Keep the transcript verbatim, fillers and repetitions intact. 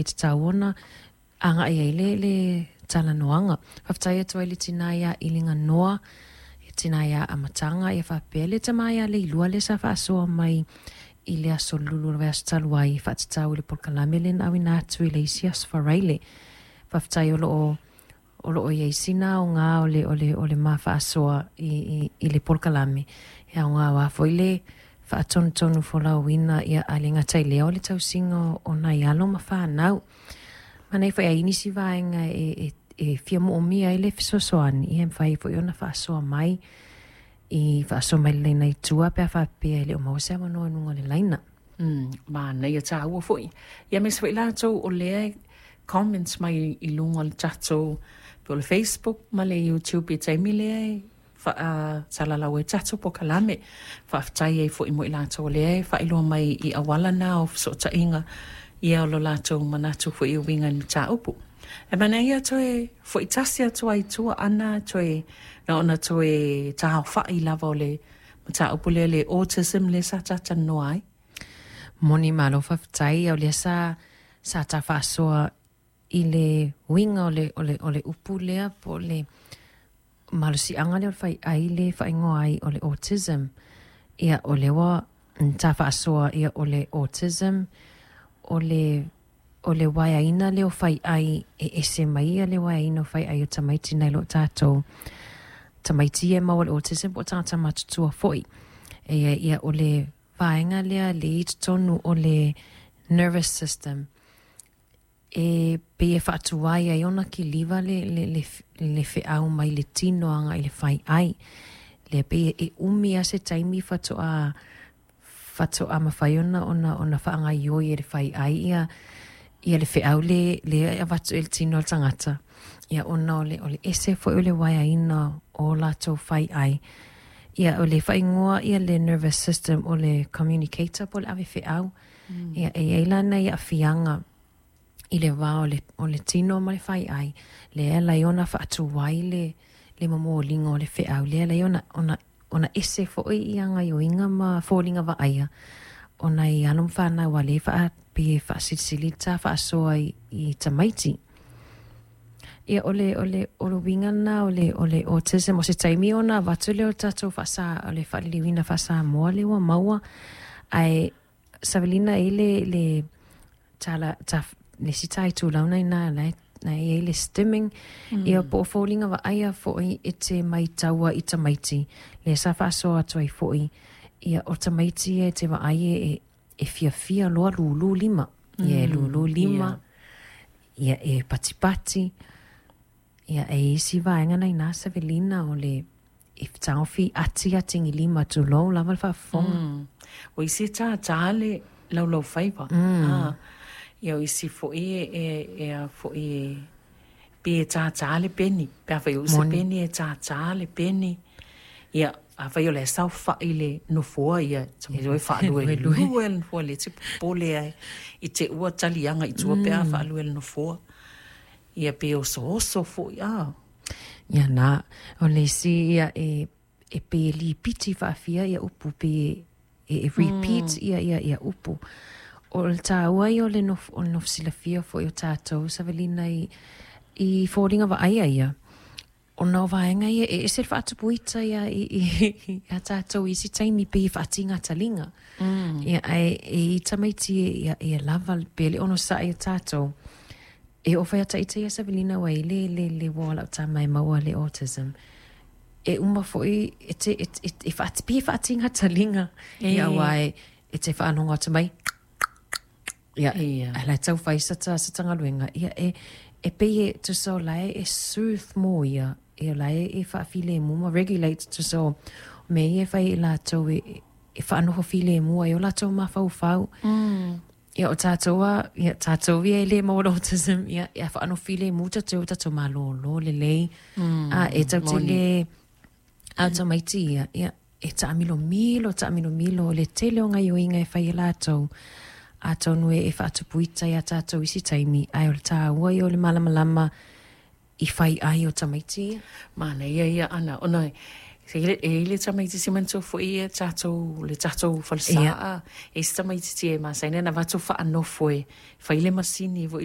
e tatau ona agaʻi ai le le talanoaga. Faafetai atu ai le tinā iā Iliganoa, e tinā iā Amataga, ia faapea le tamā iā Leilua le sa faasoa mai i le aso Lulu o le vaiaso talu ai e faatatau i le polokalame lea na auina atu i le isi aso Faraile. Faafetai o loo o loo iai sina aoga o le o le o le ma faasoa i i i le polokalame e aoga auā foi le faatonutonu folauina ia ae le gata i lea o le tausiga o nai alo ma fanau. Manaia foi ai nisi vaega e e e fia moomia ai le fesoasoani, ia e mafai ai foi ona faasoa mai i faasoa mai le laina i tua pe a faapea e le o maua se avanoa i luga o le laina. Mm, manaia tāua foi. Ia aemaise foi latou o lea e comments mai i luga o le tatou po o le Facebook ma le YouTube i taimi lea e faasalalau ai tatou polokalame. Faafetai ai foi mo i latou o lea e faailoa mai i auala na o fesootaiga ia o lo latou manatu foi e uiga i le mataupu. E manaia toe fo'i tasi atu ai i tua ana toe na ona toe taaofa'i lava o le mataupu lea le autism lea sa talatalanoa ai. Moni malo faafetai o lea sa sa ta faasoa i le uiga o le o le o le upu lea po o le malosiaga lea o le faiai le faaigoa ai o le autism. Ia o lea ua ta faasoa ia o le autism o le o le uaeaina lea o faiai e ese mai ia le uaeaina o faiai o tamaiti nai lo tatou tamaiti ia e maua i le autism po o tagata matutua foi. E ia ia o le vaega lea le i totonu o le nervous system e pei e faatuai ai ona kiliva le le le le feau mai le tino agai i le faiai. Lea pei e umi lava se taimi faatoa faatoa mafai ona ona ona faagaoioi e le faiai ia ia le feau le lea e avatu i le tino o le tagata ia ona o le o le ese foi o le uaeaina o latou faiai. Ia o le faaigoa ia le nervous system o le communicator po o le ave feau. Ia e i ai la nai aafiaga i le va o le o le tino ma le faiai lea e ala ai ona faatuai le le momoliga o le feau lea e ala ai ona ona ona ese foi ia gaoioiga ma foliga vaaia o nai alo ma fanau a lea e faa pei e faasilisili le ta faasoa i i tamaiti. Ia o le o le o le uiga lena o le o le autism o se taimi ona avatu lea o le tatou faasa o le faaliliuina faa-Samoa lea ua maua ae Savelina e i ai le le tala ta le isi ta itulau na iina la e na e i ai le stimming ia po o foliga vaaia foi e te maitaua i tamaiti lea sa faasoa atu ai foi ia o tamaiti ia e te vaai e e e fiafia loa lūlū lima ia e lūlū lima ia e patipati ia e i ai isi vaega na iina Savelina o le e taofi ati atigilima tulou lava le faafofoga. Mm. O isi e tātā le laulaufaiva. Mm. Ah, ia o isi foi e, e, e a foi e pe e tātā le peni. Pe afai o se peni e tātā le peni. Ia, afai o le saofa'i le nofoa ia, e toe faaluelue le nofoa le te popole ai i te ua taliaga i tua pe a faalue le nofoa. Ia pe osooso foi a. Ia na, o le isi ia e e pei e lipiti faafia ia upu pe e e repeat ia ia ia upu. O le tāua ia o le nofo o le nofo silafia foi o tatou Savelina i i foliga vaaia ia ona o vaega ia e ese le faatupuita ia i i a tatou i isi taimi pei e faatiga taliga. Ia ae e i tamaiti ia ia lava pe le onosa'i o tatou e oo fai ata ita ia Savelina ua i le le le uo a lau tama e maua le autism. E uma foi e te e e e faati pei e faatiga taliga ia aua e e te faalogo atu mai ia ae la e taufai sa ta sa ta galuega ia e e pei e tusa o la e soothe mo ia e o la e e faafilemu ma regulate tusa o mea ia e fai ai latou e e faanofo filemu ai o latou mafaufau. Ia o tatou a ia tatou ia e le maua le autism ia ia faanofo filemu tatou o tatou malōlō lelei a e tatou te le a o tamaiti ia ia e taamilomilo taamilomilo le tele o gaioiga e fai e latou atonu e e faatupuita iā tatou i isi taimi ae o le tāua ia o le malamalama i fai ai o tamaiti ia. Manaia ia ana ona e i ai le tamaitiiti manatua foi ia tatou le tatou falesaa e i ai si tamaitiiti e masani ona avatu faanofo e fai le masini foi